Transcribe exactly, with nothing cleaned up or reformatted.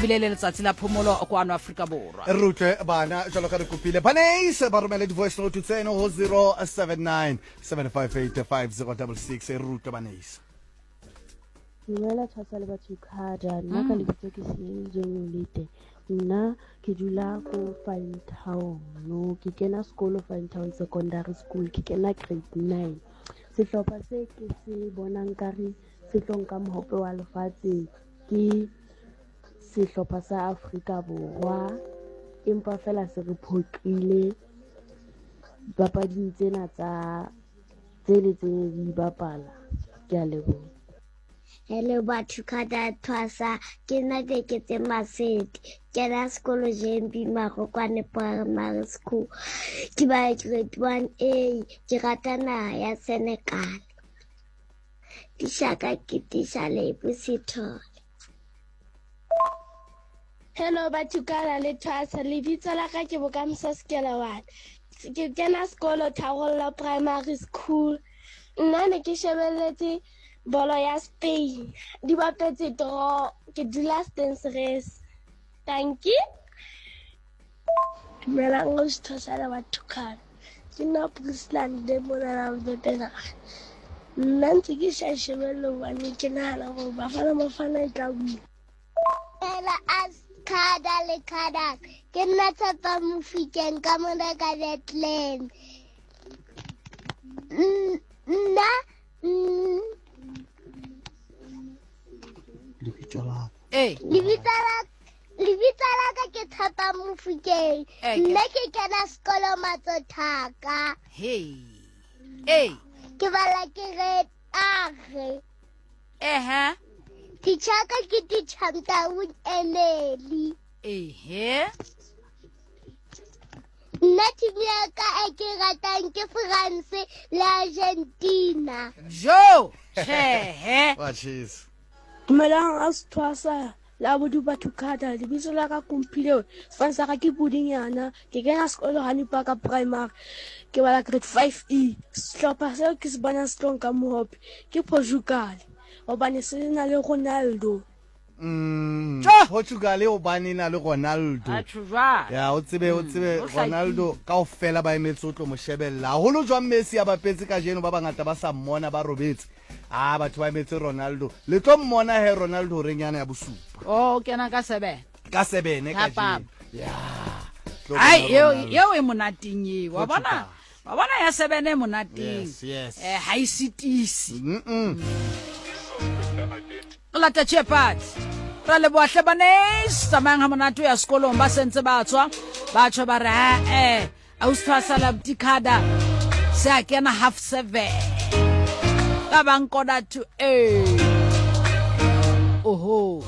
Ebile le letsatsi la phomolo kwano Afrika Borwa. Re utlwe bana jalo ka re kopile banes ba romele di-voice note tseno go zero seven nine seven five eight five zero double six. Re utlwe banes. Dumela Tshwasa le batho khada, nna ka lebitso ke Senyeditswe Molete. Nna ke dula ko Fine Town, no, ke kena sekolo Fine Town Secondary School, ke kena grade nine. Sehlopha se ke se bonang kare se tlo nka mohope wa lefatshe ke sehlopha sa Afrika Borwa, empa fela se re phoqile papading tsena tsa tse le tse di bapala. Ke a leboha. Hello batho khada Thwasa, ke nna Keketse Masedi, kena sekolo J M B Marokwane Primary School, ke ba grade one A, ke rata naha ya Senegal. Tishaka ke tisha Lebo Sithole. Hello batho kana le Thwasa, lebitso la ka ke Bokamoso Sekelewane. Ke kena sekolo Tharollo Primary School. Nna ne ke shebelletse bolo ya Spain, di bapetse draw, ke dula Stensres. Thank you. Dumelang o Thwasa le batho kana. Ke nna Priscilla le mona Vepena. Nna ntse ke sa shebelle hobane ke nahana hore Bafana Bafana e tla wina. Ela as khada le khada, ke nna Tshepa Mofikeng ka mona ka Bethlehem. Nna lebitso la Eh. Lebitso la lebitso la ka ke Tshepa Mofikeng. Nna ke kena sekolo Matsothaka. Hey. Hey. Ke bala ke grade R. Eh ha. Teacher ka ke teacher Mtaung Emeli. Ehe. Nna team ya ka e ke ratang ke France le Argentina. Jo, tjhe. Wa cheese. Dumelang a Thwasa la bodu batho khada, lebitso la ka Kumphile, sefane sa ka ke Pudinyana, ke kena sekolo Hani Park Primary, ke bala grade five E. Sehlopha seo ke se bonang se tlo nka mohope ke Portugal, hobane se na le Ronaldo. Mm, Portugal hobane na le Ronaldo. Atjho jwang? Ya o tsebe o tsebe o hlakile. Ronaldo kaofela ba emetse o tlo mo shebella. Haholo jwang Messi a bapetse kajeno, ba bangata ba sa mmona ba robetse. Ah, batho ba emetse Ronaldo. Le tlo mmona he Ronaldo horeng yana ya bosupa. Oh, o kena ka seven. Ka seven Ka kajeno. papa. Ya. Tlo Ai, bona eo Ronaldo. eo e monateng eo. Wa bona? Portugal. Wa bona ya seven e monateng. Yes, yes. Eh, ha e sitise. Mm-mm. Re lata tjhepati. Ra leboha hle banes, tsamayang ha monate ho ya sekolong, ba sentse ba tswa. Ba tjho ba re, ha, eh, ausi Thwasa la Butikhada, se a kena half seven. Ka bang quarter to eight. Oho.